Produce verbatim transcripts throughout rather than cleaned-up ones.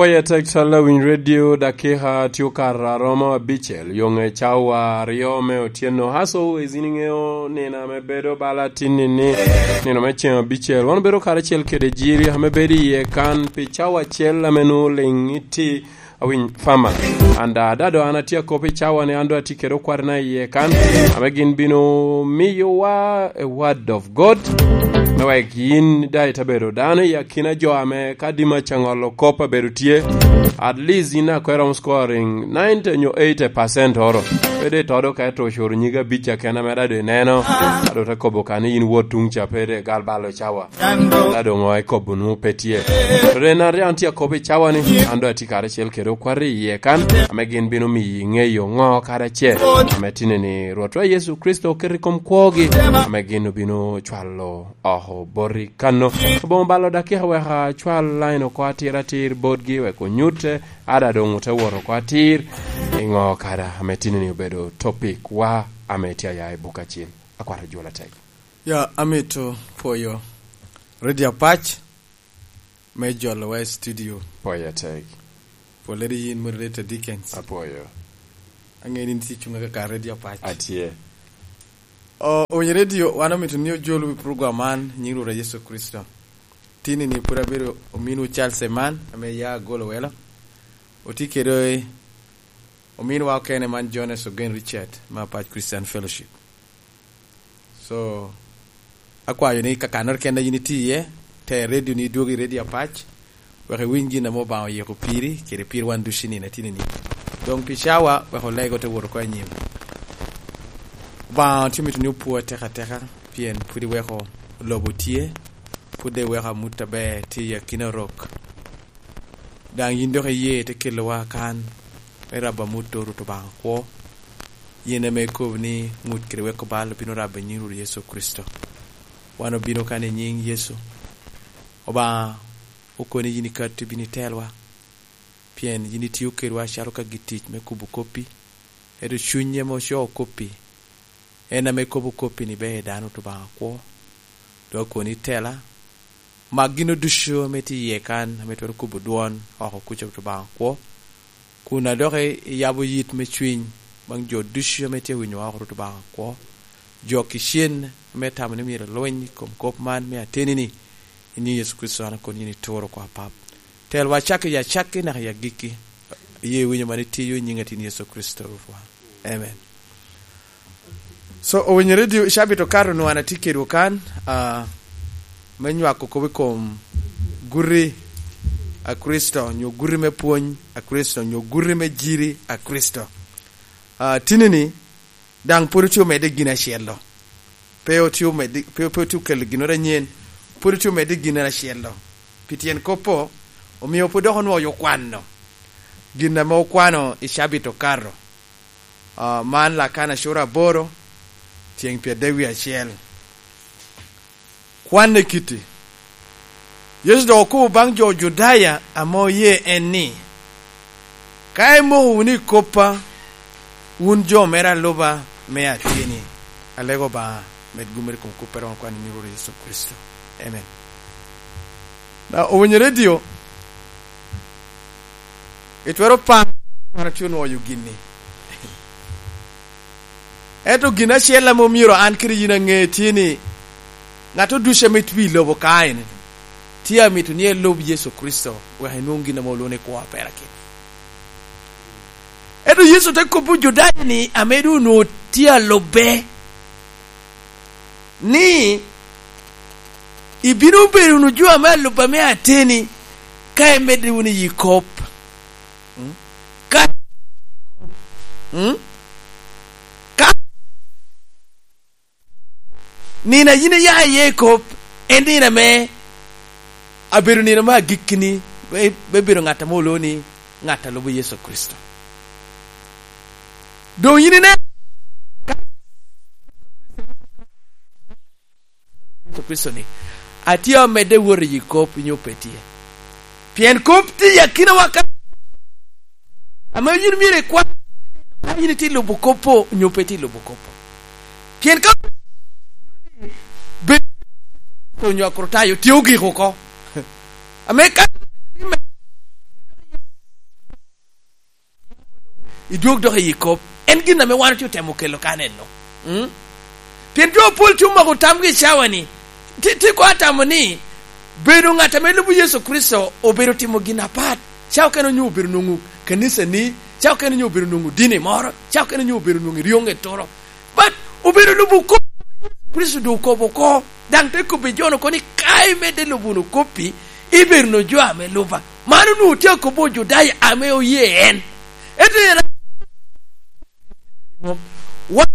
Oya tek talla winy radio, dakika tye okato aromo abicel, yo ŋe cawa aryo me otyeno. As always, in iŋeo nino ame bedo bala tin-ni, nino me ceŋ abicel. Wan obedo karacel kede Jiri ame bedo iye kan pi cawa acel ame nwoŋo liŋ iti awiny fama. And, uh, dado an atye akop i cawa ni an do atye kede okwatna iye kan, ame gin bino miyowa a word of God, me wek yin daŋ ite bedo dano i akina jo ame ka dima caŋolo kop abedo tye, at least yin akwero romo scoring ninety nyo eighty percent oro. Pe de todo ka ito ocuro nyig abic akena mere ado ineno, ado te kobo ka ni yin wot tuŋ ca pe de gal balo cawa. Ado ŋo ikobo nwoŋo pe tye. Rena ri an tye akobo i cawa ni, an do atye karacel kede okwati iye kan, ame gin bino miyi ŋeyo ŋo karacel, ame tine ni Rwotwa Yecu Kricito oketo i kom kwogi, ame gin obino cwalo oko boti kano. Oboŋo balo dakika wek acwal line oko atir atir botgi wek onyutte, ada doŋ ote wot oko atir i ŋo kada ame tini ni obedo topic wa ame tye aya i buk acil. Akwat ajwol atek. Ya, amito pwoyo Radio Apac me jolo wa i studio. Pwoyo atek. Pwoyo lady yin moderator Dickens. Apwoyo. Ange ni tye cunga kaka Radio Apac. Atye. O, owinyo radio, wan omito ni ojol wi program man, nyiŋ Rwot Yecu Kricito. Tini ni pwod abedo ominwu Charles Eman, ame ya agolo welo. Otye kede ominwa okene man Jones Ogen Richard, me Apac Christian Fellowship. So, akwayo ni kakannoro kende yin itye iye, te radio ni idwog i Radio Apac, wek iwiny gin ame Obaŋa oyiko piri, kede pir wan ducu i nino atini ni. Doŋ pi cawa, wek olego te wot oko anyim. Obaŋa tye mito ni opwo ateka ateka, pien pwod iweko lobo tye, pwod iweko amut aber tye i akina Orok. Daŋ yin dok iye te kelowa kan, me rabo amut Rwot Obaŋa kwo. Yin ame ikobo ni ŋut kede weko bal obino rabo i nyiŋ Rwot Yecu Kricito. Wan obino kan i nyiŋ Yecu. Obaŋa okoni yin ikatti bino itelwa, pien yin itio kedwa acalo ka gitic me kubo koppi, ento cuny ame ocoo koppi, en ame kobo koppi ni ber dano Rwot Obaŋa kwo. Dok okoni itela, mak gin ducu ame tye iye kan, ame twero kubo dwon oko kuca Rwot Obaŋa kwo, kun a dok iyabo yit me cwiny baŋ jo ducu ame tye winyo oko Rwot Obaŋa kwo, jo kicen ame tamo ni myero lweny i kom kop man me ateni-ni, i nyiŋ Yecu Kricito an akoni yin ituro kwa Pap. Telwa acakki i acakki naka i agikki, iye winyo man itiyo i nyiŋ atin Yecu Kricito Rwotwa. Amen. So, owinyo radio i cabit okato nwoŋo an atye kedwu kan, ah, me nywako kop i kom guti a Kricito, nyo guti me pwony a Kricito, nyo guti me jiri a Kricito. Ah, tini-ni, daŋ pwod otye omedde gin acel-lo. Pe otye omedde, pe, pe otye okelo ginnoro anyen, pwod otye omedde gin acel-lo. Pi tyen kop-po, omio pwod dok onwoŋo okwano gin ame okwano i cabit okato. Ah, man Lakana cura aboro, tyeŋ pyeradek wie acel. Kwanne kitti. Yecu dok okobo baŋ jo Judaya ame oye en ni, "Ka imoko wunu i koppa, wun jo mere aluba me ateni, alego Obaŋa med gummere i kom kop a romo kwan i nyiŋ Rwot Yecu Kricito. Amen." Na, owinyo radio, itwero paro, wan atye onwoyo gin-ni. Ento gin acel ame omyero an kede yin aŋe tye ni, ŋat ducu ame tye i lobo ka en tye amito ni elub Yecu Kricito, wek enwoŋ gin ame olwoŋo ni kwo a perakino. Ento Yecu te kobbi Ojudaya-ni ame doŋ onwoŋo tye alubbe, ni, "Ibino bedo wunu jo ame alubba me ateni, ka imedde wunu i yi kop." Mm? Ka, mm? Ka nino a yin iya iye i kop, en nino ame abedo nino me agikki-ni, me, me bedo ŋat ame olwoŋo ni ŋat a lubo Yecu Kricito. Doŋ yin ine, Yecu Kricito ni, "Atye amedde wot i yi kop, nyo pe tye?" Pien kop tye i akinawa ka, ame yin myero ikwan, ka yin itye lubo kop-po, nyo pe tye lubo kop-po. Pien ka be-, onyo Akritayo tye ogik oko. Ame ka, idwog dok i kop. En gin ame wan otye otemo kelo kan enno. Mm? Pien jo apol tye omako tamgi i cawa-ni, ti, ti koŋ atamo ni bedo ŋat ame lubo Yecu Kricito obedo timo gin apat. Cawa okene onyo obedo nwoŋo kanicani, cawa okene onyo obedo nwoŋo dini moro, cawa okene onyo obedo nwoŋo i ryoŋ eturo. But obedo lubo kop Kricito doŋ okobo oko. Daŋ te kobbi jo-nu oko ni, "Ka imedde lubo wunu kop-pi, ibedo wunu jo ame luba." Man onwoŋo tye akobo Ojudaya ame oye en. Ento en wa-,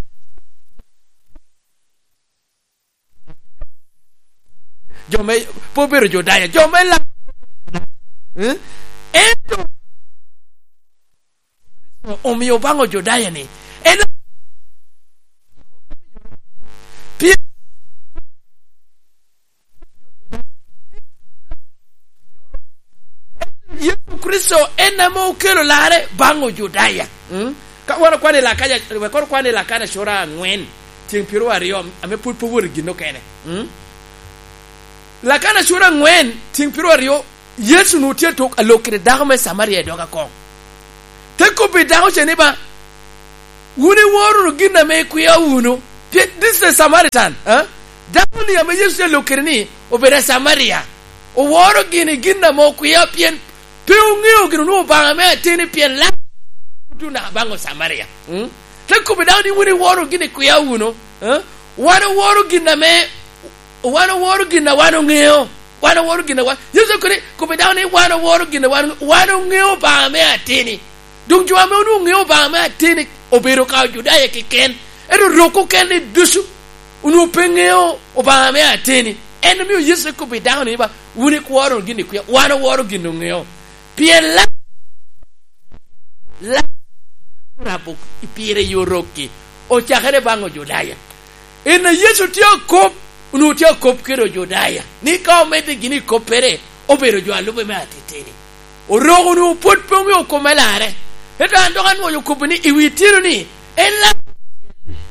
jo me pe obedo Ojudaya, jo me la-, eh? Ento omio baŋ Ojudaya ni, en pien Yecu Kricito en ame okelo larre baŋ Ojudaya. Mm? Ka wan okwano i Lakana, wek kono okwan i Lakana cura aŋwen, tyeŋ pyeraryo, ame pwod pe owoto i gin okene. Mm? Lakana cura aŋwen, tyeŋ pyeraryo, Yecu onwoŋo tye atok alok kede dako me Camaria i dog akoŋ. Te kobbi dako ce ni ba, "Wun iworo wunu gin ame ikwia wunu." Pien this is a Samaritan, eh? Dako-ni ame Yecu tye alok kede ni obedo a Camaria. Oworo gini gin ame okwia, pien pe oŋeo gin onwoŋo Obaŋa me ateni, pien lam otuno baŋ Ocamaria. Mm? Te kobbi dako ni, "Wun iworo gin ikwia wunu, eh? Wan oworo gin ame, wan oworo gin a wan oŋeo." Wan oworo gin a wan, Yecu okone, kobbi dako ni, "Wan oworo gin a wan, wan oŋeo Obaŋa me ateni." Doŋ jo ame onwoŋo ŋeo Obaŋa me ateni obedo ka Ojudaya keken, ento rok okene ducu onwoŋo pe ŋeo Obaŋa me ateni. En omio Yecu te kobbi dako ni ba, "Wun ikworo wunu gin ikwia, wan oworo gin oŋeo." Pien la-, la-, rabo pire i orokki, ocakere baŋ Ojudaya. En a Yecu tye akop, onwoŋo tye akop kede Ojudaya, ni ka omedde gini i koppere, obedo jo a lube me atitini. Oroko onwoŋo pwod pe oŋeo kop me larre. Ento an dok anwoyo kop ni i wi tino ni, en larre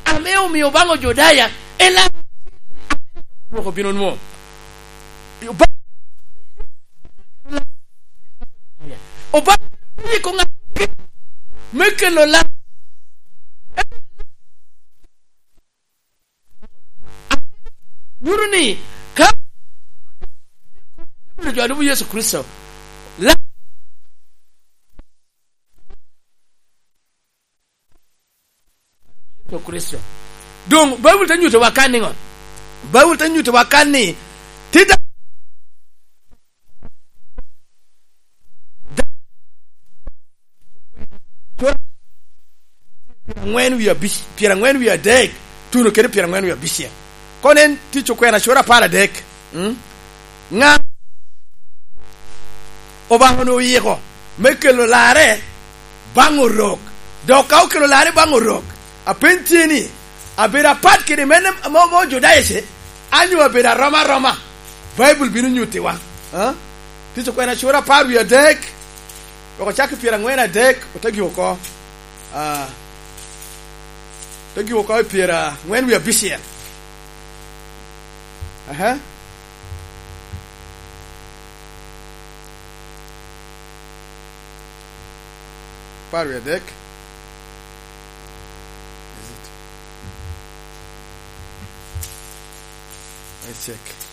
ame omio baŋ Ojudaya, en larre Oroko bino nwoŋo. Obaŋa, Obaŋa yiko ŋat me kelo lam. Nyuto ni ka jo a lubo Yecu Kricito, lam Yecu Kricito. Doŋ Baibul te nyutowa kan niŋo? Baibul te nyutowa kan ni, ti da-, da-, pyeraŋwen wie abic, pyeraŋwen wie adek, tuno kede pyeraŋwen wie abicel. Kono en Tic Okwena cura apar adek. Mm? Ŋa Obaŋa onwoŋo oyiko me kelo larre baŋ Orok? Dok ka okelo larre baŋ Orok, apeny tye ni, abedo apat kede mene mo, mo Ojudaya ce, anyo abedo aroma aroma? Baibul bino nyuttiwa. Ah? Tic Okwena cura apar wie adek, wek ocak i pyeraŋwen adek, ote gik oko. Ah, te gik oko i pyeraŋwen wie abicel. Aha. Apar wie adek. Is it? Let's check.